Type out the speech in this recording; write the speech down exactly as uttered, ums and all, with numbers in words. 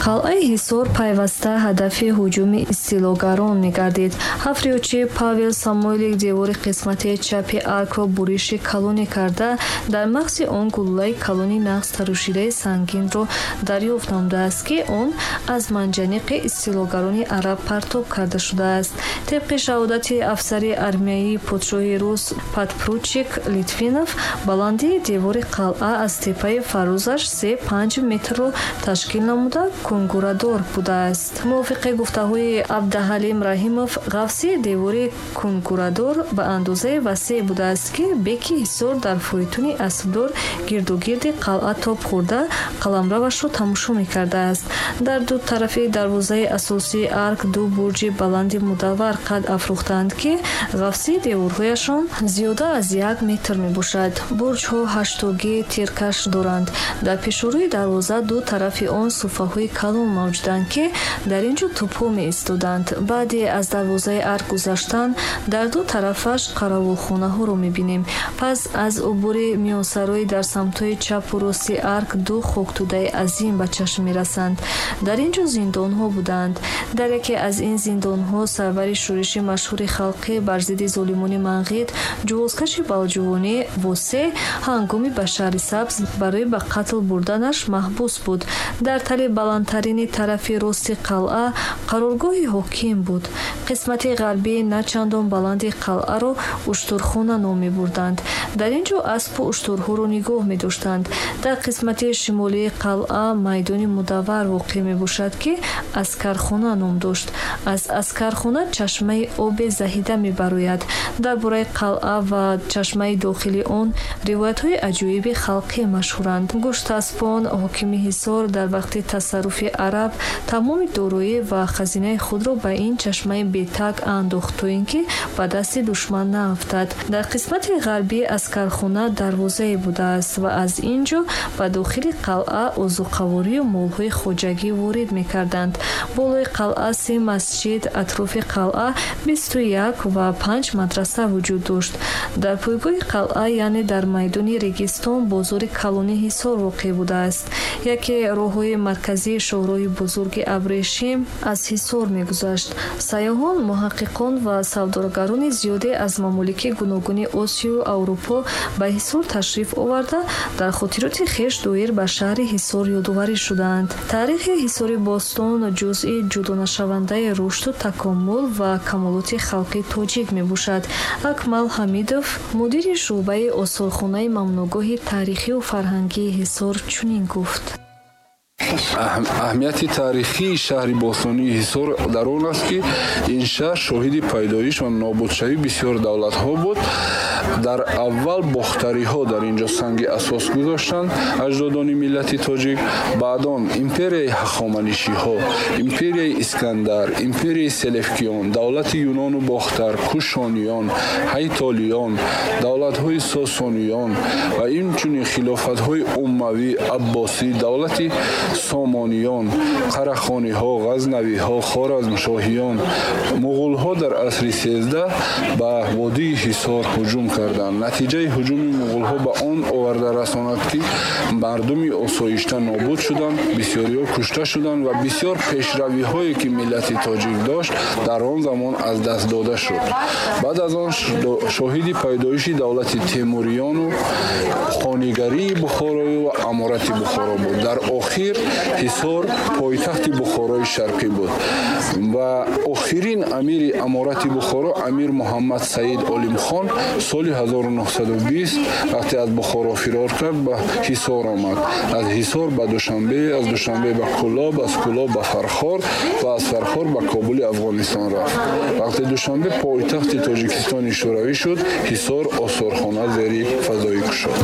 Қалъаи Ҳисор пайваста ҳадафи ҳуҷуми истилогарон мегардид. Ҳафриётчи Павел Самойлик девори қисмати чапи аркро буриши калоне карда, дар мағзи он гулӯлаи калони нағз тарошидаи сангинро дарёфт намудааст, ки он аз манҷаниқи истилогарони араб партоб карда шудааст. Тибқи шаҳодати афсари армияи подшоҳи рус подпоручик Литвинов, баландии девори қалъа аз теппаи фарозаш се панҷ метрро ташкил намуда, кунгурадор будааст. Мувофиқи гуфтаҳои Абдаҳалим Раҳимов, ғафсии девори кунгурадор ба андозаи васеъ будааст, ки беки Ҳисор дар фойтуни аспдор гирдугирди қалъа тоб хӯрда, қаламравашро тамошо мекардааст. Дар ду тарафи дарвозаи асосии арк ду бурҷи баланди мудаввар қад афрӯхтаанд, ки ғафсии деворҳояшон зиёда аз як метр мебошад. Бурҷҳо ҳаштогии тиркаш доранд. Дар пешорӯи дарвоза ду тарафи он суфаҳои калон мавҷуданд, ки дар ин ҷо тӯбҳо меистоданд. Баъде аз дарвозаи арк гузаштан, дар ду тарафаш қаравулхонаҳоро мебинем. Пас аз убури миёнсароӣ дар самтҳои чапу рости арк ду хоктӯдаи азим ба чашм мерасанд. Дар ин ҷо зиндонҳо буданд. Дар яке аз ин зиндонҳо сарвари шӯриши машҳури халқӣ бар зидди золимони манғит, ҷувозкаши балҷувонӣ Восе ҳангоми ба шаҳри Сабз барои ба қатл бурданаш маҳбус буд. Дар тали баландтарини тарафи рости қалъа қароргоҳи ҳоким буд. Қисмати ғарбии на чандон баланди қалъаро уштурхона ном мебурданд. Дар ин ҷо аспу уштурҳоро нигоҳ медоштанд. Дар қисмати шимолии қалъа майдони мудаввар воқеъ мебошад, ки аскархона ном дошт. Аз аскархона чашмаи оби заҳида мебарояд. Дар бораи қалъа ва чашмаи дохили он ривоятҳои аҷоиби халқӣ машҳуранд. Гуштаспон, ҳокими Ҳисор, дар вақти тасарруфи араб тамоми дороӣ ва хазинаи худро ба ин чашмаи бетаг андохт, то ин ки ба дасти душман наафтад. Дар қисмати ғарбии аскархона дарвозае будааст ва аз ин ҷо ба дохили қалъа озуқаворию молҳои хоҷагӣ ворид мекарданд. Болои қалъа се масҷид, атрофи қалъа бисту як ва панҷ мадраса вуҷуд дошт. Дар пойгоҳи қалъа, яъне дар майдони Регистон, бозори калони Ҳисор воқеъ будааст. Яке роҳҳои марказии шоҳроҳи бузурги Абрешим аз Ҳисор мегузашт. Сайёҳон, муҳаққиқон ва савдогарони зиёде аз мамолики гуногуни Осиёю Аврупо ба Ҳисор ташриф оварда, дар хотироти хеш доир ба шаҳри Ҳисор ёдоварӣ шудаанд. Таърихи Ҳисори бостон ҷузъи ҷудонашавандаи рушду такомул ва камолоти халқи тоҷик мебошад. Акмал Ҳамидов, мудири шӯъбаи осорхонаи мамнӯъгоҳи таърихию фарҳангии Ҳисор, чунин гуфт. Аҳамияти таърихии шаҳри бостонии Ҳисор дар он аст, ки ин шаҳр шоҳиди пайдоиш ва нобудшавии бисёр давлатҳо буд. Дар аввал бохтариҳо дар ин ҷо санги асос гузоштанд, аҷдодони миллати тоҷик. Баъдон империяи ҳахоманишиҳо, империяи Искандар, империяи Селевкиён, давлати Юнону Бохтар, Кушониён, Ҳайтолиён, давлатҳои Сосониён ва инчунин хилофатҳои Уммавӣ, Аббосӣ, давлати Сомониён, Қарахониҳо, Ғазнавиҳо, Хоразмшоҳиён, муғулҳо дар асри сездаҳ ба водии Ҳисор ҳуҷум карданд. Натиҷаи ҳуҷуми муғулҳо ба он оварда расонад, ки мардуми осоишта нобуд шуданд, бисёриҳо кушта шуданд ва бисёр пешравиҳое, ки миллати тоҷик дошт, дар он замон аз даст дода шуд. Баъд аз он шоҳиди пайдоиши давлати Темуриёну хонигарии Бухорою ва аморати Бухоро буд. Дар охир Ҳисор пойтахти Бухорои Шарқӣ буд ва охирин амири аморати Бухоро, амир Муҳаммад Саид Олимхон, соли ҳазору нӯҳсаду бист вақте аз Бухоро фирор кард, ба Ҳисор омад. Аз Ҳисор ба Душанбе, аз Душанбе ба Кӯлоб, аз Кӯлоб ба Фархор ва аз Фархор ба Кобули Афғонистон рафт. Вақте Душанбе пойтахти Тоҷикистони Шӯравӣ шуд, Ҳисор осорхона зери фазоӣ кушод.